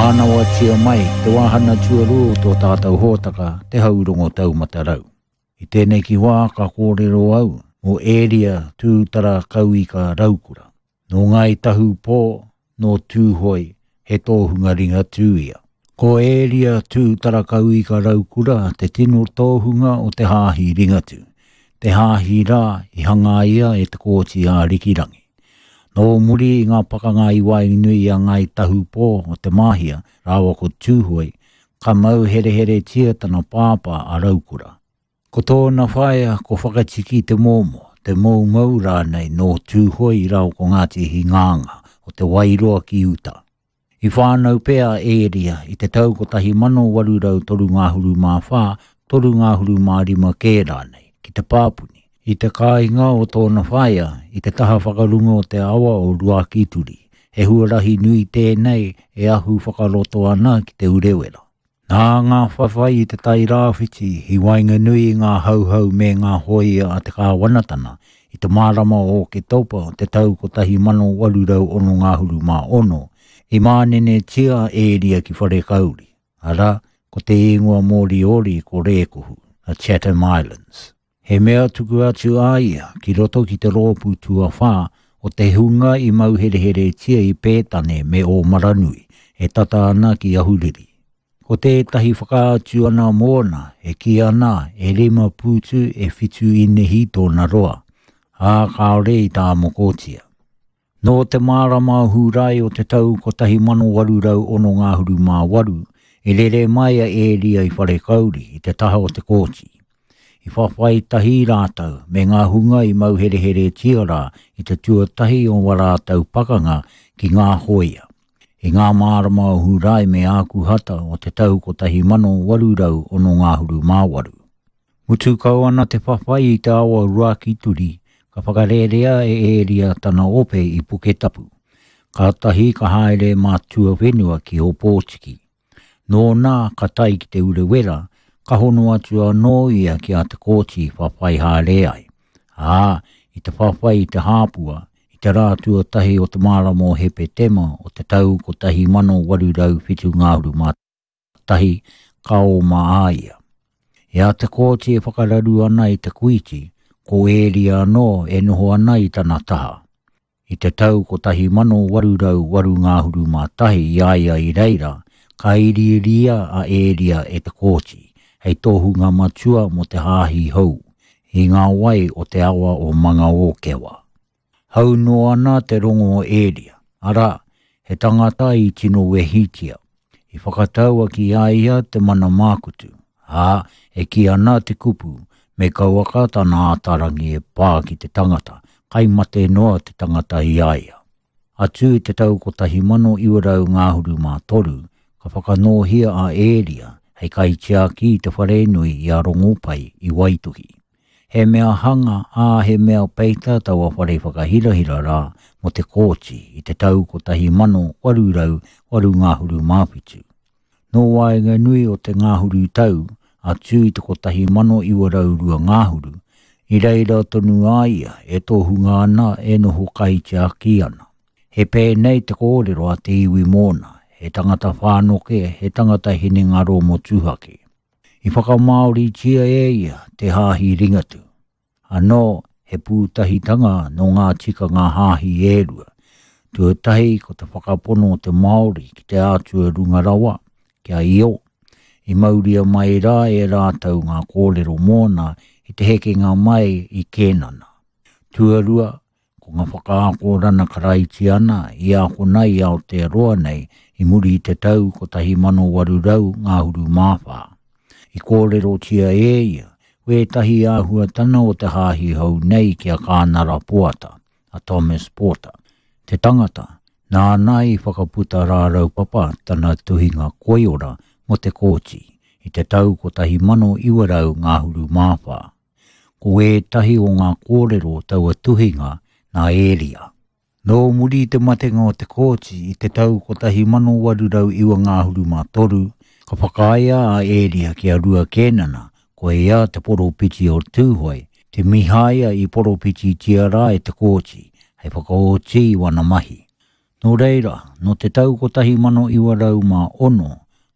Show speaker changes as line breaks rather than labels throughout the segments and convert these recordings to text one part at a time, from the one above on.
Mānawatia mai ki te wāhana tuarua o tō tātou hōtaka, Te Haurongo Taumata Rau. I tēnei ki wā ka kōrero au mō Ēria Tūtara Kauika Raukura. Nō Ngāi Tahu Pō, nō Tūhoe, he tōhunga Ringatū ia. Ko Ēria Tūtara Kauika Raukura te tino tōhunga o te Hāhi Ringatū, te hāhi rā i hangaia e Te Kooti Ārikirangi. Nō muri i ngā pakanga i waenganui i a Ngāi Tahu Pō o Te Māhia rāua ko Tūhoe, ka mau hereheretia tana pāpā a Raukura. Ko tōna whaea ko Whakatiki Te Mōmō, Te Moumou rānei nō Tūhoe rāua ko Ngāti Hingānga o Te Wairoa ki uta. I whānau pea a Ēria i te tau 1834, 35 kē rānei, ki Te Pāpuni, i te kāinga o tōna whaea i te taha whakarunga o te awa o Ruakituri, he huarahi nui tēnei e ahu whakaroto ana ki Te Urewera. Nā ngā whawhai i Te Tai Rāwhiti i waenganui i ngā Hauhau me ngā hōia a te kāwanatana i te marama o Oketopa o te tau 1866, i mānenetia a Ēria ki Wharekauri, arā, ko te īngoa Moriori ko Rēkohu, the Chatham Islands. He mea tuku atu a ia ki roto ki te rōpū tuawhā o te hunga i mauhereheretia i Pētane me Ōmaranui, e tata ana ki Ahuriri. Ko tētahi whakaatu ana mōna e kī ana e rima pūtu e whitu īnehi tōna roa, ā, kāore i tāmokotia. Nō te marama o Hūrae o te tau 1868, i rere mai a Ēria i Wharekauri i te taha o Te Kooti. I whawhai tahi rātou me ngā hunga i mauhereheretia rā i te tuatahi o wā rātou pakanga ki ngā hōia. I ngā marama o Hūrae me Ākuhata o te tau 1868. Mutu kau ana te whawhai i te awa Ruakituri, ka whakarērea e Ēria tana ope i Puketapu. Kātahi ka haere mā tuawhenua ki Ōpōtiki. Nōna ka tae ki Te Urewera, ka hono atu anō ia ki a Te Kooti whawhai haere ai. Ā, i te whawhai i Te Hāpua, i te rā tuatahi o te marama o Hepetema o te tau 1871, tahi ka oma a ia. I a Te Kooti e whakararu ana i Te Kuiti, ko Ēria anō e noho ana i tana taha. I te tau 1881 i a ia i reira, ka iriiria a Ēria e Te Kooti hei tohunga matua mō te hāhi hou, i ngā wai o te awa o Mangaōkewa. Hau noa ana te rongo o Ēria, arā, he tangata i tino wehitia. I whakataua ki a ia te mana mākutu, ā, e kī ana te kupu, me kauaka tana ātarangi e pā ki te tangata, kai mate noa te tangata i a ia. Atu i te tau 1923, ka whakanōhia a Ēria hei kaitiaki i te wharenui i a Rongopai i Waituhi. He mea hanga, ā, he mea peita taua whare whakahirahira rā mō Te Kooti i te tau 1887. Nō waenganui o te ngahuru tau atu i te 1902 ngahuru, i reira tonu a ia e tohunga ana e noho kaitiaki ana. He pēnei te kōrero a te iwi mōna, he tangata whānoke, he tangata hinengaro motuhake. I whakamāoritia e ia te Hāhi Ringatū. Anō, he pūtahitanga nō ngā tikanga hāhi e rua. Tuatahi ko te whakapono o te Māori ki te Atua runga rawa, ki a Io. I mauria mai rā e rātou ngā kōrero mōna i te hekenga mai i Kēnana. Tuarua, Ko ngā whakaakorana Karaitiana i ākona i Aotearoa nei i muri i te tau 1824. I kōrerotia e ia wētahi āhuatana o te hāhi hou nei ki a Kānara Poata, a Thomas Porter, te tangata nāna i whakaputa rāraupapa tana tuhinga koiora mō Te Kooti i te tau 1924. Ko ētahi o ngā kōrero o taua tuhinga nā Ēria. Nō muri i te matenga o Te Kooti i te tau 1893, ka whakaaea a Ēria ki a Rua Kēnana, ko ia te poropiti o Tūhoe, te Mihaia i poropititia rā e Te Kooti hei whakaoti i wana mahi. Nō reira, nō te tau 1906,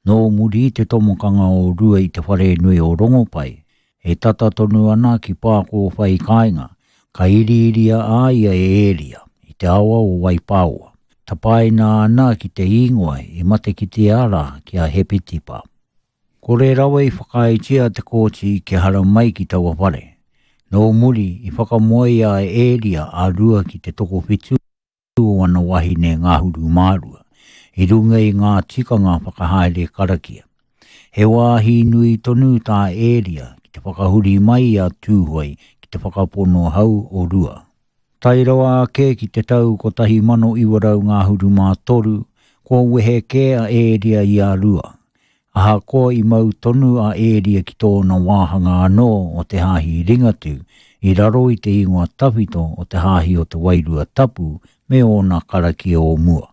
nō muri i te tomokanga o Rua i te wharenui o Rongopai, e tata tonu ana ki Pākōwhai kāinga, ka iriiria a ia e Ēria, i te awa o Waipāoa. Tapaina ana ki te īngoa i matekitea rā ki a Hepetipa. Kore rawa i whakaaetia te kōti kia haramai ki taua whare. Nō muri, i whakamoea e Ēria a Rua ki te tokowhitu, o ana wahine ngahuru mārua, i runga i ngā tikanga whakahaere karakia. He wāhi nui tonu tā Ēria ki te whakahuri mai i a Tūhoe ki te whakapono hau o Rua. Tae rawa ake ki te tau 1933, kua wehe kē a Ēria i a Rua, Ahakoa i mau tonu a Ēria ki tōna wāhanga anō o te Hāhi Ringatū i raro i te ingoa tawhito o te Hāhi o te Wairua Tapu me ōna karakia o mua.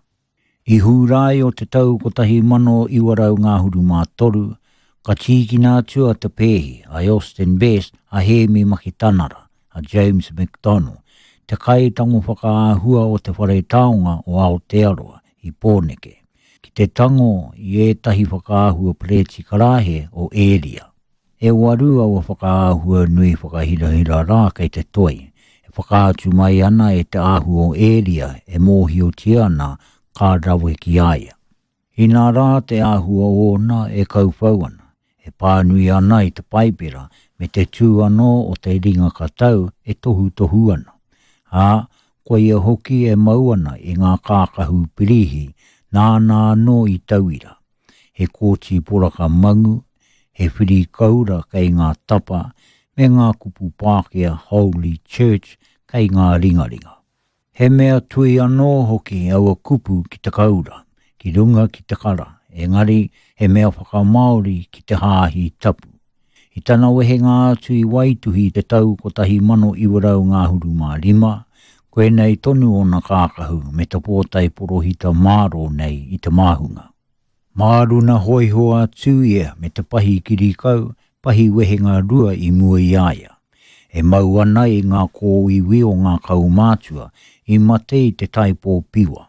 I Hūrae o te tau 1933, ka tīkina atu a Te Pēhi, a Austin Best, a Hēmi Makitanara, a James McDonnell, te kaitango whakaahua o Te Whare Taonga o Aotearoa i Pōneke, ki te tango i ētahi whakaahua perēti karāhe o Ēria. E waru aua whakaahua nui whakahirahira rā kei te toi, e whakaatu mai ana e te āhua o Ēria e mōhiotia ana ka rawe ki a ia. Inā rā te āhua ōna e kauwhau ana, e pānui ana i te Paipera me te tū anō o te ringa katau e tohutohu ana, ā, koia hoki e mau ana i ngā kākahu pirīhi nāna anō i tauira, he kōti poraka mangu, he whiri koura kei ngā tapa, me ngā kupu Pākehā Holy Church kei ngā ringaringa. He mea tui anō hoki aua kupu ki te kaura, ki runga ki te kara, engari he mea whakamāori ki te hāhi tapu. I tana wehenga atu i Waituhi i te tau 1915, koinei tonu ōna kākahu me te pōtae porohita mārō nei i te māhunga. Māruna hōiho atu ia me te pahi kirikau, pahi wehenga rua i mua i a ia. E mau ana i ngā kōiwi o ngā kaumātua i mate i te taipō piwa.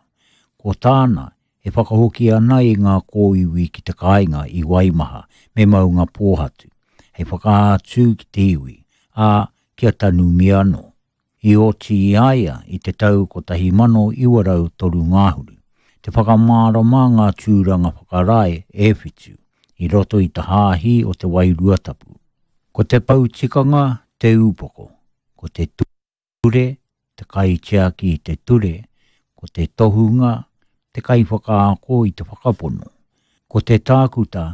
Ko tāna, e whakahoki ana i ngā kōiwi ki te kāinga i Waimaha me Maungapōhatu, hei whakaatu ki te iwi, ā, kia tanumia anō. I oti i a ia i te tau 1903 ngahuru, te whakamārama ngā tūranga whakarae e whitu i roto i te Hāhi o te Wairua Tapu. Ko te pou tikanga te upoko, ko te ture te kaitiaki i te ture, ko te tohunga te kaiwhakaako i te whakapono, ko te tākuta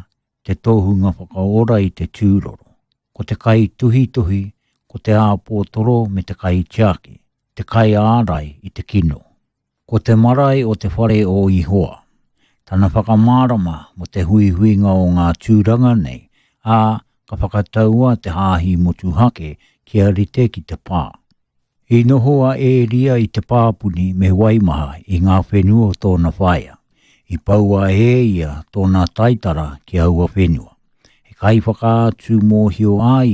te tohunga whakaora i te tūroro, ko te kaituhituhi, ko te āpōtoro me te kaitiaki, te kaiārai i te kino. Ko te marae o te whare o Ihoa, tana whakamārama mō te huihuinga o ngā tūranga nei, ā, ka whakataua te hāhi motuhake kia rite ki te pā. I noho a Ēria i Te Pāpuni me Waimaha i ngā whenua o tōna whaea. I poua e ia tōna taitara ki aua whenua. He kaiwhakaatu mōhio a ia.